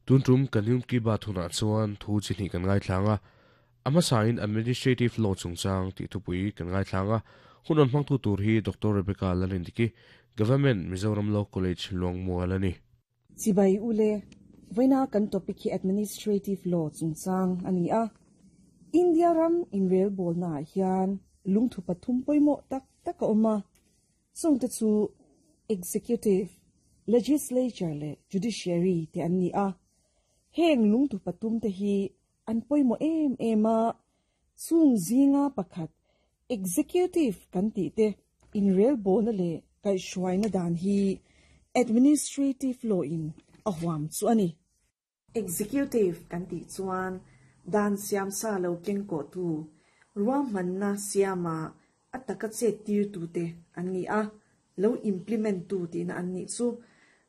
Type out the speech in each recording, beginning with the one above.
Tun tum kan Yom Ki Baat hunah chuan thu chi hnih kan ngaithlang a, a hmasain Administrative Law chungchang tih thupui kan ngaithlang a, hun rawn hmangtu tur hi Doctor Rebecca Lalindiki, Government Mizoram Law College, Luangmual a ni. Chibai ule, vawiina kan topic hi Administrative Law chungchang a ni a. India ram inrelbawlnaah hian lungthu pathum pawimawh tak tak a awm a. Chungte chu Executive, Legislature leh Judiciary te an ni a. Heng lungthu pathum te hi an pawimawh em em a, chung zinga pakhat Executive kan tih te inrelbawlna leh kaihhruaina dan hi Administrative Law in a huam chu a ni. Executive kan tih chuan dan siam sa lo keng kawhtu, ruahmanna siama a taka chet tirtute an ni a, lo implement tu tihna an nih chu.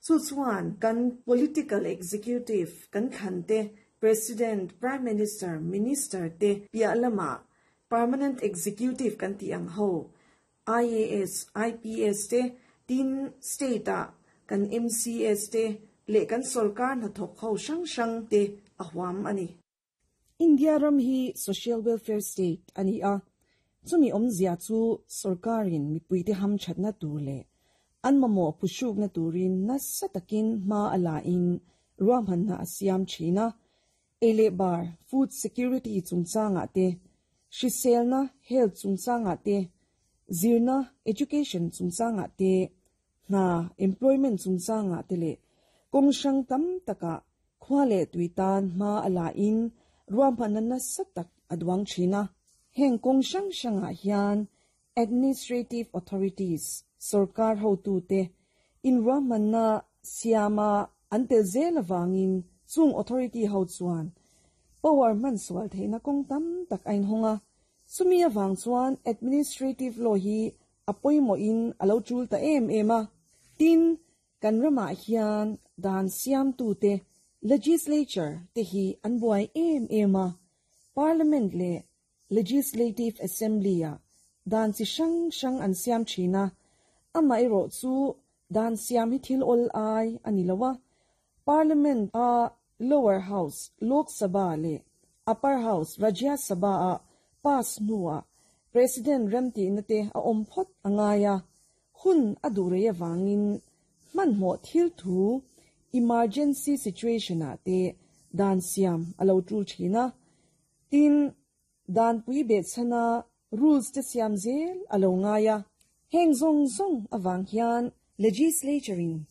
Chu chuan kan political executive kan thlan te, President, Prime Minister, Minister te piah lamah permanent executive kan tih ang ho, IAS, IPS te, tin state-ah kan MCS te leh kan sawrkar hnathawk ho hrang hrang te a huam a ni. India ram hi Social Welfare State a ni a, chumi awmzia chu sawrkarin mipuite hamthatna tur leh an mamawh phuhrukna turin nasa takin hma a la in ruahmanna a siam thin a, Ei leh bar, food security, chungchangah te, hriselna, health, chungchangah te, zirna, education, chungchangah te, hna, employment, chungchangah te leh kawng hrang tam takah khua leh tui tan hma a la in ruahmanna nasa tak a duang thin a. Heng kawng hrang hrangah hian administrative authorities, sorkar hotute, inruahmanna siama an tel zel avangin chung authority ho chuan power hman sual theihna kawng tam tak a inhawng a. Chumi avang chuan administrative law hi a pawimawhin a lo tul ta em em a. Tin, kan ramah hian dan siamtute, legislature, te hi an buai em em a. Parliament leh Legislative Assembly-ah dan chi hrang hrang an siam thin a, amaherawh chu dan siam hi thil awl ai a ni lo a, Parliament-a Lower House, Lok Sabha, leh Upper House, Rajya Sabha-a pass hnuah President remtihna te a awm phawt a ngai a, hun a duh rei avangin hmanhmawh thil thu, emergency situation-ah te dan siam a lo tul thin a. Tin, danpui behchhana rules te siam zel a lo ngai a. Heng zawng zawng avang hian Legislature-in